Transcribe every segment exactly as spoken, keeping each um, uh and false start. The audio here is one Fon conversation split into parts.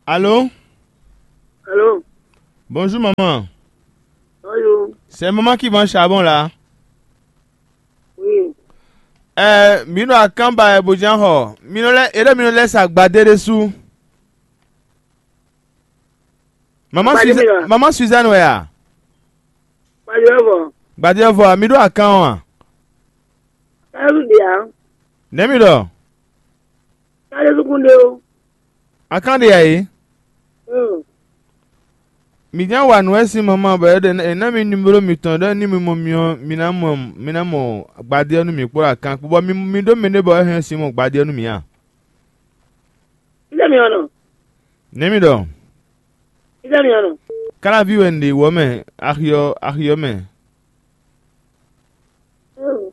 Allô? Allô? Bonjour maman. Bonjour. C'est maman qui vend charbon là? Oui. Ɛɛ, mǐ ɖo akánba wɛ bó ján xɔ. Mi nɔ lɛ́, é ɖɔ mi nɔ lɛ́ sa gbadé ɖésú. Maman Gbadé Suzanne, mi ɖɔ? Maman Suzanne wɛ a? Gbadé ɔ́ vɔ. Gbadé ɔ́ vɔ a? Mi ɖo akán ɔ́ a? Káyɔ́ ɖe ǎ. Nɛ̌ mi ɖɔ? Káyɔ́ sukún ɖe ó. Akán ɖe ǎ é? Mm. Mǐ ján wa nǔ wɛ sín maman bɔ é ɖe é ná mi numéro mitɔn ɖɔ ní mi mɔ mi ɔ́, mi ná mɔ mi ná mɔ gbadé ɔ́ nú mǐ kpó ɖo akán kpó, bɔ mi mi ɖó mɛ ɖé bɔ é hɛn sin mɔ gbadé ɔ́ nú mǐ a? Fítɛ́ mi ɔ́ nɔ? Nɛ̌ mi ɖɔ? Fítɛ́ mi ɔ́ nɔ? Káláví wɛ un ɖe wɔ mɛ, axi ɔ́ axi ɔ́ mɛ. Mm.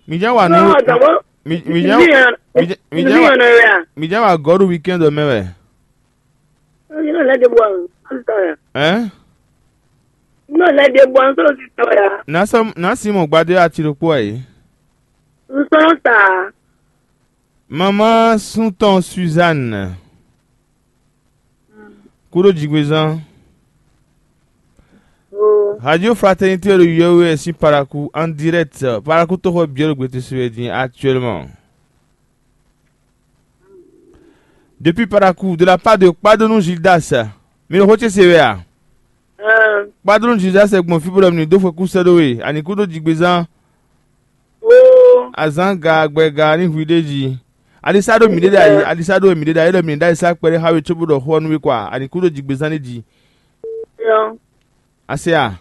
Mi ján wa nǔ. Ɔ́, dɔ̌bɔ, mi mi ján mi ɔ́ mi ján mi ján mi wa ɔ́ nɔ wɛ a? Mi ján wa gɔ̌ ɖo weekend ɔ́ mɛ wɛ. Ɔ́, yě nɔ lɛ́ ɖe bɔ ɔ́, ɔ́, tɔ́ ya. Ɛn? Yě nɔ lɛ́ ɖe bɔ ɔ́, tɔ́ ya. Nǎ sɔ́ nǎ Simɔn gbadé ati ɖokpó ǎ é. Un sɔ́ nɔ ta ǎ. Mamá súntɔn Suzanne. Kúɖó jigbezán. Radio Fraternité ɖo yɔ́wé wɛ sín Parakou en direct. Parakou toxo byɔ́ ɖo gbetesi wɛ din actuellement. Depuis Parakou, de la part de Kpadonu Gildas. Mi ɖo xó ce se wɛ a? Kpadonu Gildas gbɔn fí bó ɖɔ mi ní dó xwekú sɛ́ ɖó we, ani kúɖó jigbezán. Azǎn ga gbɛga ní hu ɖ'é jí. Alisa ɖo mǐ ɖe ɖ'ayǐ, alisa ɖo mǐ ɖe ɖ'ayǐ ɖɔ mǐ ní ɖ'ayǐ sá kpɛɖé xá we cóbó ɖɔ xó ɔ́ nú we kɔ a? Ani kúɖó jigbezán ní jí. Ase a?